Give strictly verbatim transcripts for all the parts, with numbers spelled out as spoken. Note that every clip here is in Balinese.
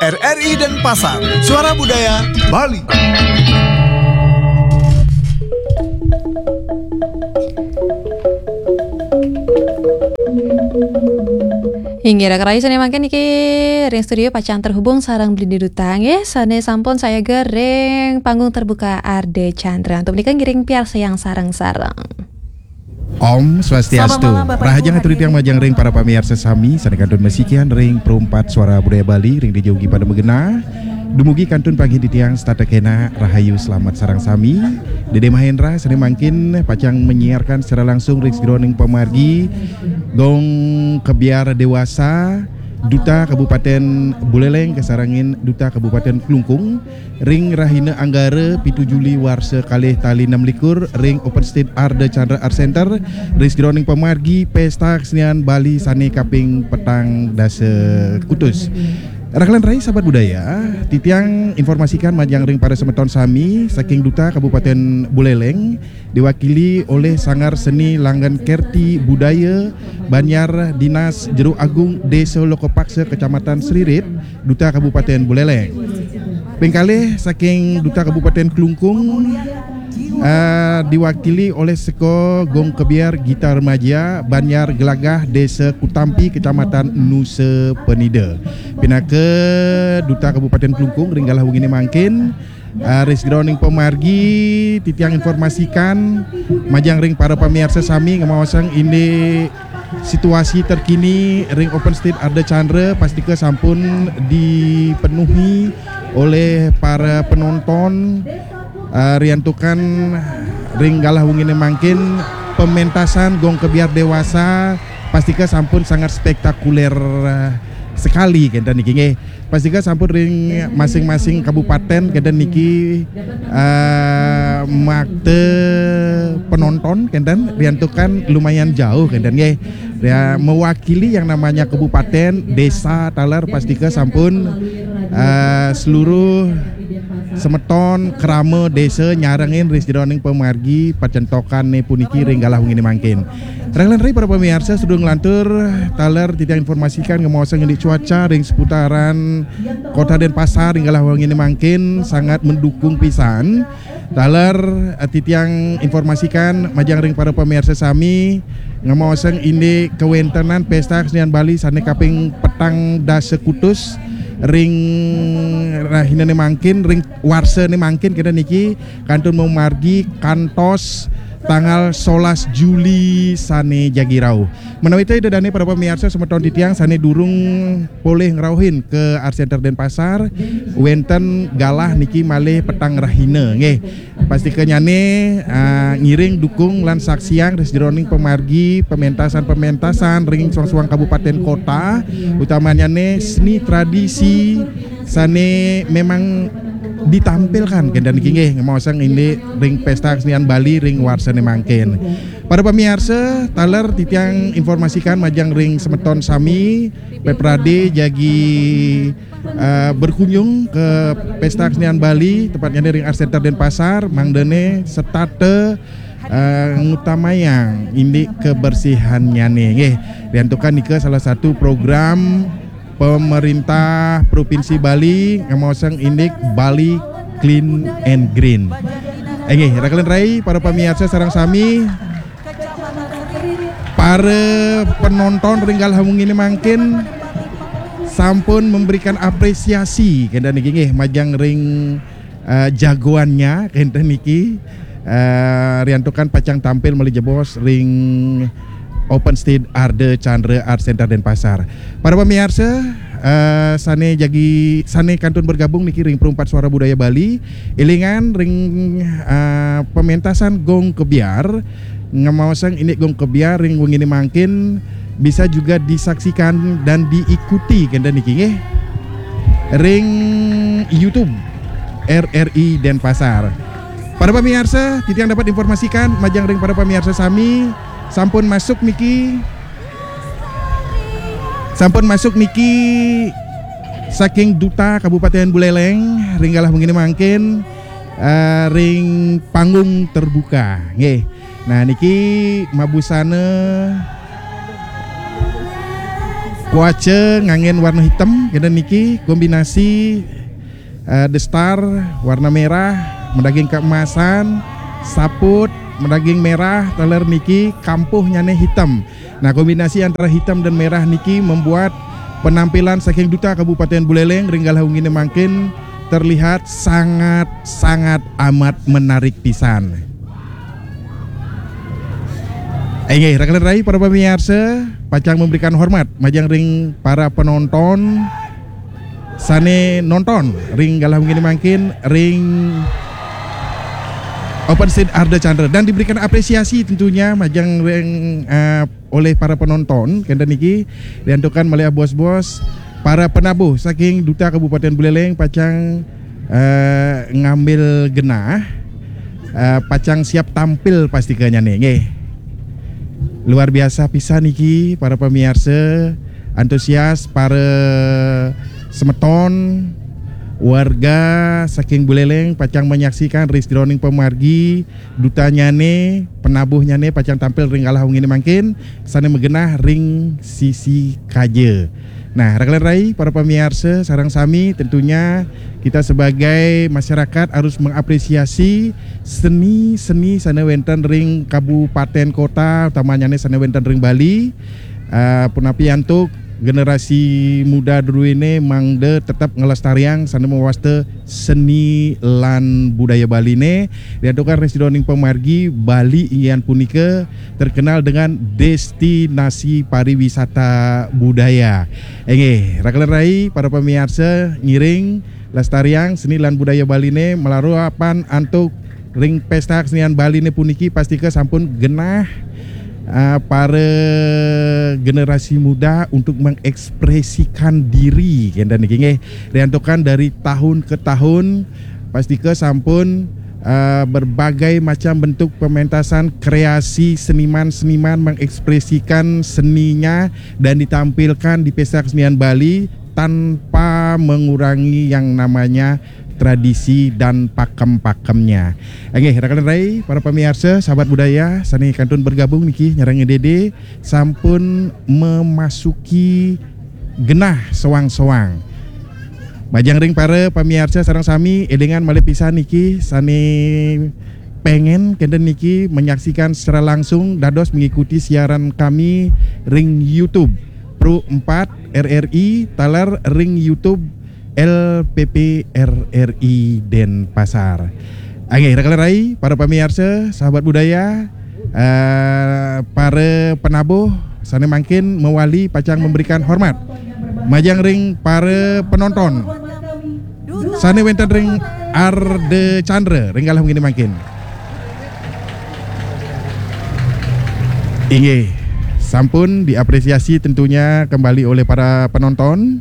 R R I Denpasar, Suara Budaya Bali. Inggih, rakan rahayu, sané mangkin niki ring studio pacang terhubung sareng Beli Duta, nggih, sané sampun sayaga ring panggung terbuka Ardha Candra. Untuk menika ngiring piarsayang sareng-sareng. Om Swastiastu. Rahajeng atur titiang majeng ring para pamiarsa sami sané kantun masikian ring Perumpat Suara Budaya Bali ring dija ugi pada magenah. Dumugi kantun panggihin titiang setata kénak rahayu, selamat sareng sami. Dédé Mahendra sané mangkin pacang menyiarkan secara langsung ring sajeroning pamargi Gong Kebyar Dewasa, Duta Kabupaten Buleleng kasarengin Duta Kabupaten Klungkung, ring rahina Anggara pitu Juli warsa kalih tali enam likur ring Open Stage Ardha Candra Art Center ring sajeroning pamargi Pesta Kesenian Bali sané kaping petang dasa kutus. Rakan rahayu sahabat budaya, titiang informasikan majeng ring para semeton sami saking Duta Kabupaten Buleleng, diwakili oleh Sanggar Seni Langgeng Kerti Budaya Banjar, Dinas Jero Agung, Desa Lokapaksa, Kecamatan Sririt, Duta Kabupaten Buleleng. Ping kalih saking Duta Kabupaten Klungkung, eh, diwakili oleh Seko Gong Kebyar Gita Remaja, Banjar Gelagah, Desa Kutampi, Kecamatan Nusa Penida. Pinaka Duta Kabupaten Klungkung ring galah wenginé mangkin, eh, ring sajeroning pamargi titiang informasikan majeng ring para pamiarsa sami ngamaosang indik situasi terkini ring Open Stage Ardha Candra pastika sampun dipenuhi oleh para penonton, eh, riantukan ring galah wenginé mangkin pementasan Gong Kebyar Dewasa pastika sampun sangat spektakuler, eh, sekali kénten niki, nggih. Pastika sampun ring masing-masing kabupaten kénten niki, eh, makta penonton kénten riantukan lumayan jauh kénten, nggih. Ya, mewakili yang namanya kabupaten, desa taler pastika sampun, eh, seluruh semeton krama desa nyarengin ring sajeroning pamargi pacentokané puniki ring galah wenginé mangkin. Rakan rahayu para pamiarsa, sadurung nglantur taler titiang informasikan ngamaosang indik cuaca ring seputaran Kota Denpasar ring galah wenginé mangkin sangat mendukung pisan. Taler, eh, titiang informasikan majeng ring para pamiarsa sami ngamaosang indik kawéntenan Pesta Kesenian Bali sané kaping petang dasa kutus ring rahinané mangkin, ring warsané mangkin, kénten niki kantun mamargi kantos tanggal solas Juli sané jagi rauh. Menawi té Ida dané para pamiarsa semeton titiang sané durung polih ngrauhin ka Art Center Denpasar, wénten galah niki malih petang rahina, nggih. Pastika nyané, ah, ngiring dukung lan saksiang ring sajeroning pamargi pementasan-pementasan ring suang-suang kabupaten kota, utamanyané seni tradisi sané memang ditampilkan kénten niki, nggih, ngamaosang indik ring Pesta Kesenian Bali ring warsané mangkin. Para pamiarsa, taler titiang informasikan majeng ring semeton sami, Pepradé jagi, eh, berkunjung ke Pesta Kesenian Bali, tepatnyané ring Art Center Denpasar, mangdané setata, eh, ngutamayang indik kebersihannyané, nggih. Riantukan nika salah satu program pemerintah Provinsi Bali ngamaosang indik Bali Clean and Green. Inggih, rakan rahayu para pamiarsa sareng sami, para penonton ring galah wenginé mangkin sampun memberikan apresiasi kénten niki, nggih, majeng ring, eh, jagoannya kénten niki, eh, riantukan pacang tampil malih jebos ring Open Stage Ardha Candra Art Center Denpasar. Para pamiarsa, eh, sané jagi, sané kantun bergabung niki ring Perumpat Suara Budaya Bali, élingan ring, eh, pementasan Gong Kebyar, ngamaosang indik Gong Kebyar ring wenginé mangkin bisa juga disaksikan dan diikuti kénten niki, nggih, ring YouTube R R I Denpasar. Para pamiarsa, titiang dapat informasikan majeng ring para pamiarsa sami, sampun masuk niki, sampun masuk niki saking Duta Kabupaten Buleleng ring galah wenginé mangkin, eh, ring panggung terbuka, nggih. Nah, niki mabusana Kuaca nganggén warna hitam, kénten niki kombinasi eh, The Star warna merah, madaging keemasan, saput madaging merah, taler niki kampuhnyané hitam. Nah, kombinasi antara hitam dan merah niki membuat penampilan saking Duta Kabupaten Buleleng ring galah wenginé mangkin terlihat sangat-sangat amat menarik pisan. Inggih, rakan rai para pamiarsa, pacang memberikan hormat majeng ring para penonton sané nonton ring galah wenginé mangkin ring Open Stage Ardha Candra dan diberikan apresiasi tentunya majeng ring eh, oleh para penonton kénten niki, diantukan malih bos-bos para penabuh saking Duta Kabupaten Buleleng pacang eh, ngambil genah, eh, pacang siap tampil pastika nyané nggih. Luar biasa pisan niki para pamiarsa, antusias para semeton warga saking Buleleng pacang menyaksikan ring sajeroning pamargi dutanyané, penabuhnyané pacang tampil ring galah wenginé mangkin sané magenah ring sisi kaja. Nah, rakan rai para pamiarsa sareng sami, tentunya kita sebagai masyarakat harus mengapresiasi seni-seni sané wénten ring kabupaten kota, utamanyané sané wénten ring Bali. Eh, punapi antuk generasi muda druéné mangda tetep nglestariang sané mawasta seni lan budaya Baliné, diantukan ring sajeroning pamargi Bali inggih punika terkenal dengan destinasi pariwisata budaya. Inggih, rakan rai para pamiarsa, ngiring lestariang seni lan budaya Baliné malarapan antuk ring Pesta Kesenian Baliné puniki pastika sampun genah eh, para generasi muda untuk mengekspresikan diri kénten niki nggih. Riantukan dari tahun ke tahun pastika sampun eh, berbagai macam bentuk pementasan kreasi seniman-seniman mengekspresikan seninya dan ditampilkan di Pesta Kesenian Bali tanpa mengurangi yang namanya tradisi dan pakem-pakemnya. Inggih, rakan rai, para pamiarsa, sahabat budaya, sané kantun bergabung niki nyarengin Dédé sampun memasuki genah soang-soang. Majeng ring para pamiarsa sareng sami, élingang malih pisan niki sané pengen kénten niki menyaksikan secara langsung dados mengikuti siaran kami ring YouTube Pro empat R R I taler ring YouTube L P P R R I Denpasar. Inggih, rakan rai, para pamiarsa, sahabat budaya, eh, para penabuh sané mangkin mawali pacang memberikan hormat majeng ring para penonton sané wénten ring Ardha Candra ring galah wenginé mangkin. Inggih, sampun diapresiasi tentunya kembali oleh para penonton.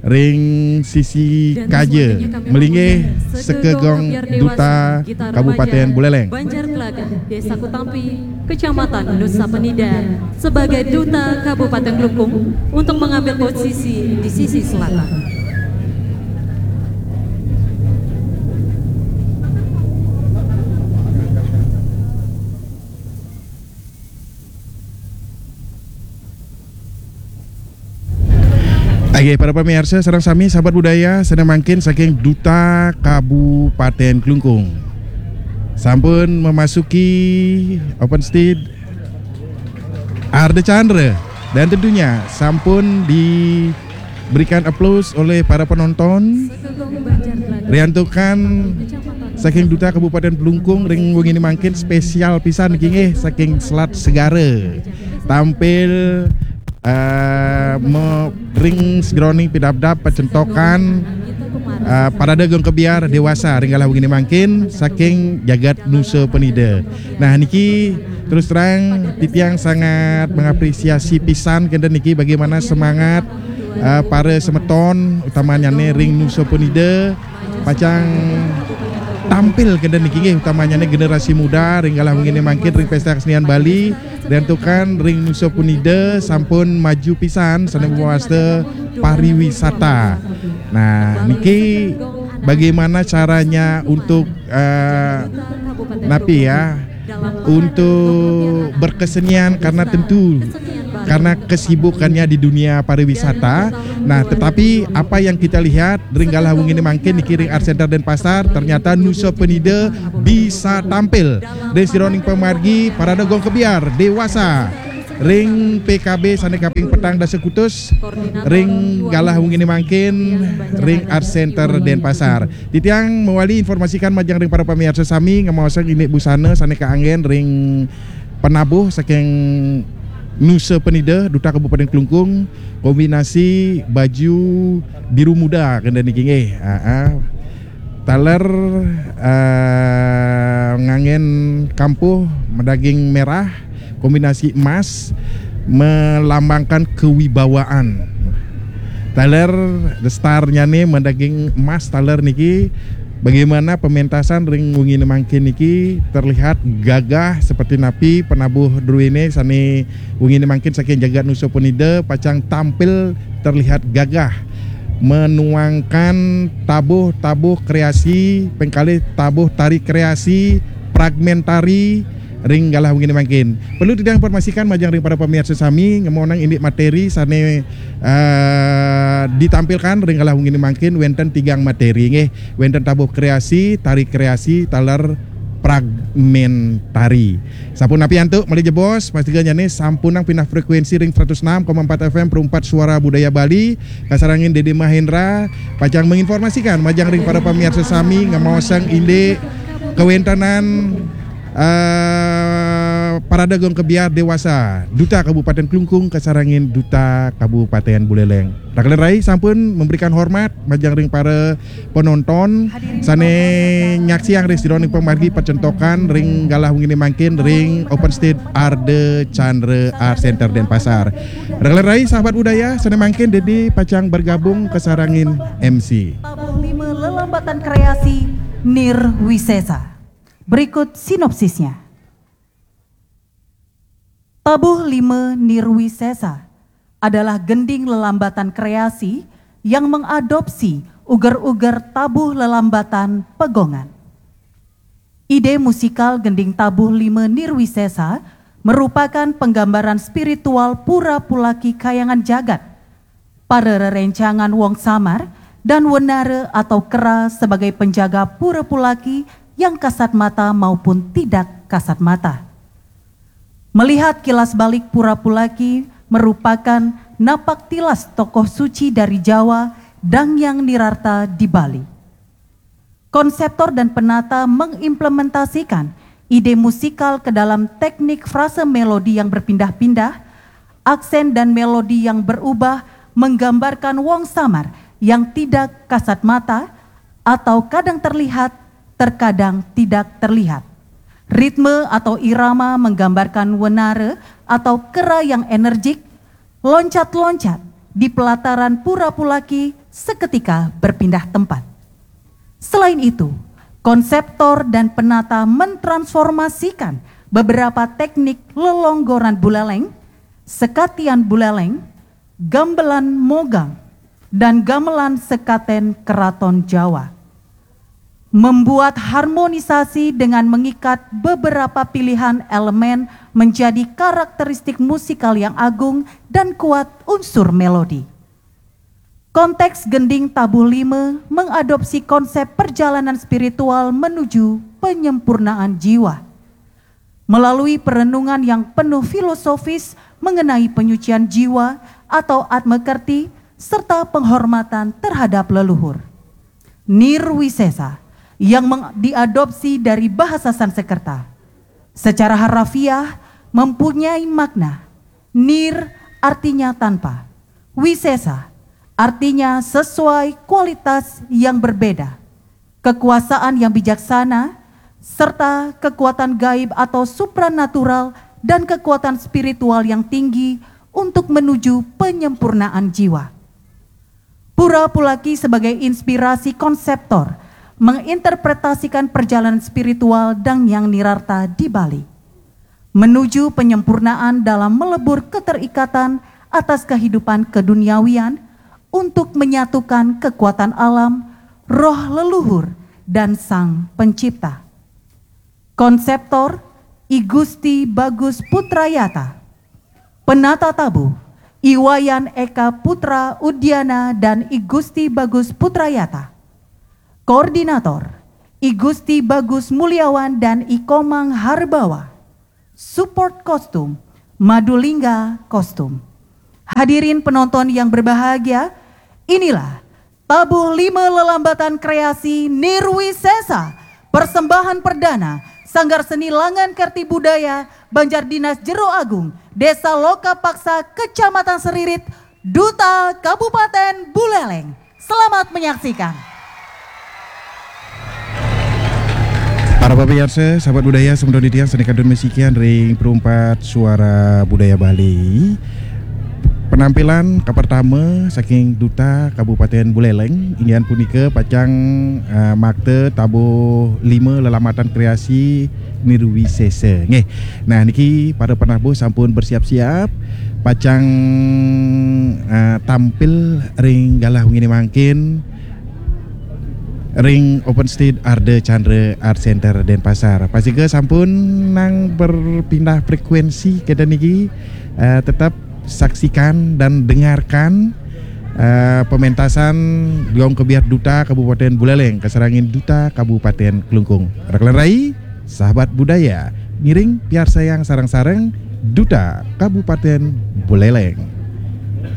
Ring sisi kaja melinggih sekegong Duta Kabupaten Buleleng. Banjar Telaga, Desa Kutampi, Kecamatan Nusa Penida, sebagai Duta Kabupaten Klungkung untuk mengambil posisi di sisi selatan. Oke, para pemirsa, sareng sami sahabat budaya, sané mangkin saking Duta Kabupaten Klungkung sampun memasuki open stage Ardha Candra dan tentunya sampun diberikan aplaus oleh para penonton. Riantukan saking Duta Kabupaten Klungkung ring wengi mangkin spesial pisan niki nggih saking Selat Segara. Tampil eh, me- ring sajeroning pidabdab pacentokan eh, Parade Gong Kebyar Dewasa ring galah wengi mangkin saking jagat Nusa Penida. Nah, niki terus terang titiang sangat mengapresiasi pisan kénten niki bagaimana semangat eh, para semeton utamanya ring Nusa Penida pacang tampil kénten niki nggih utamanya generasi muda ring galah wengi mangkin ring Pesta Kesenian Bali. Riantukan ring Nusa Penida sampun maju pisan sané mawasta pariwisata. Nah, niki bagaimana caranya untuk eh, napi ya untuk berkesenian karena tentu karena kesibukannya di dunia pariwisata. Nah, tetapi apa yang kita lihat ring galah wengi mangkin niki ring Art Center Denpasar, ternyata Nusa Penida bisa tampil ring sajeroning pamargi parade gong kebyar dewasa ring P K B sane kaping petang dasa kutus ring galah wengi mangkin ring Art Center Denpasar. Titiang mawali informasikan majeng ring para pamiarsa sami, ngemaosang indik busana sane kaanggen ring penabuh saking Nusa Penida, Duta Kabupaten Klungkung, kombinasi baju biru muda kenten niki nggih. Aa. Taler eh, nganggen kampuh madaging merah, kombinasi emas, melambangkan kewibawaan. Taler star-nyane madaging emas taler niki, bagaimana pementasan ring wengi mangkin niki terlihat gagah seperti napi penabuh druene sane wengi mangkin saking jagat Nusa Penida pacang tampil terlihat gagah menuangkan tabuh-tabuh kreasi, pengkalih tabuh tari kreasi, fragmentari ring galah wengi mangkin. Perlu titiang informasikan majeng ring para pamiarsa sami, ngemonang indik materi sane eh, ditampilkan ring galah wengi mangkin wenten tigang materi nggih. Wenten tabuh kreasi, tari kreasi, taler fragmentari. Sampun napi antuk malih jebos, pastikan jane sampunang pindah frekuensi ring seratus enam koma empat F M Perumpat Suara Budaya Bali, kasarengin Dede Mahendra pacang menginformasikan majeng ring para pamiarsa sami ngemaosang indik kawentenan eh, parade gong kebyar dewasa Duta Kabupaten Klungkung kasarengin Duta Kabupaten Buleleng. Rakelan rai sampun memberikan hormat majeng ring para penonton sane nyaksiang ring sajeroning pamargi pacentokan ring galah wengi mangkin ring Open Stage Ardha Candra Art Center Denpasar. Rakelan rai sahabat budaya sane mangkin Dede pacang bergabung kasarengin M C. Tabuh lima lelambatan kreasi Nirwisesa. Berikut sinopsisnya. Tabuh lima Nirwisesa adalah gending lelambatan kreasi yang mengadopsi uger-uger tabuh lelambatan pegongan. Ide musikal gending tabuh lima Nirwisesa merupakan penggambaran spiritual pura pulaki kayangan jagat, para rerencangan wong samar dan wenara atau kera sebagai penjaga pura pulaki yang kasat mata maupun tidak kasat mata. Melihat kilas balik pura pulaki merupakan napak tilas tokoh suci dari Jawa, Dangyang Nirarta di Bali. Konseptor dan penata mengimplementasikan ide musikal ke dalam teknik frase melodi yang berpindah-pindah, aksen dan melodi yang berubah menggambarkan wong samar yang tidak kasat mata atau kadang terlihat, terkadang tidak terlihat. Ritme atau irama menggambarkan wenara atau kera yang energik, loncat-loncat di pelataran pura pulaki seketika berpindah tempat. Selain itu, konseptor dan penata mentransformasikan beberapa teknik lelonggoran buleleng, sekatian buleleng, gambelan mogang, dan gamelan sekaten keraton Jawa. Membuat harmonisasi dengan mengikat beberapa pilihan elemen menjadi karakteristik musikal yang agung dan kuat unsur melodi. Konteks gending tabuh lima mengadopsi konsep perjalanan spiritual menuju penyempurnaan jiwa. Melalui perenungan yang penuh filosofis mengenai penyucian jiwa atau atma kerti serta penghormatan terhadap leluhur. Nirwisesa yang diadopsi dari bahasa Sansekerta. Secara harafiah mempunyai makna nir artinya tanpa, wisesa artinya sesuai kualitas yang berbeda, kekuasaan yang bijaksana, serta kekuatan gaib atau supranatural dan kekuatan spiritual yang tinggi untuk menuju penyempurnaan jiwa. Pura Pulaki sebagai inspirasi konseptor menginterpretasikan perjalanan spiritual Dangyang Nirarta di Bali menuju penyempurnaan dalam melebur keterikatan atas kehidupan keduniawian untuk menyatukan kekuatan alam, roh leluhur, dan Sang Pencipta. Konseptor I Gusti Bagus Putrayata. Penata tabuh, I Wayan Eka Putra Udiana dan I Gusti Bagus Putrayata. Koordinator, I Gusti Bagus Mulyawan dan I Komang Harbawa. Support kostum, Madulingga Kostum. Hadirin penonton yang berbahagia, inilah Tabuh Lima Lelambatan Kreasi Nirwisesa, persembahan perdana Sanggar Seni Langan Kerti Budaya Banjar Dinas Jero Agung, Desa Loka Paksa, Kecamatan Seririt, Duta Kabupaten Buleleng. Selamat menyaksikan. Para pemirsa, sahabat budaya, semeton titiang sané kantun masikian ring Perumpat Suara Budaya Bali. Penampilan kapertama saking Duta Kabupaten Buleleng, inggih punika pacang eh, makta tabuh lima lelambatan kreasi Nirwisesa. Nggih. Nah, niki para penabuh sampun bersiap-siap pacang eh, tampil ring galah wenginé mangkin ring Open Stage Ardha Candra Art Center Denpasar. Pastika sampun nang berpindah frekuensi kita niki eh, tetap saksikan dan dengarkan eh, pementasan Gong Kebyar Duta Kabupaten Buleleng kasarengin Duta Kabupaten Klungkung. Rekan rai, sahabat budaya, ngiring piarsayang sareng-sareng Duta Kabupaten Buleleng.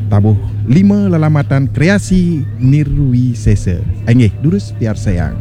Tabuh lima lelambatan kreasi Nirwisesa. Inggih, durus piarsayang.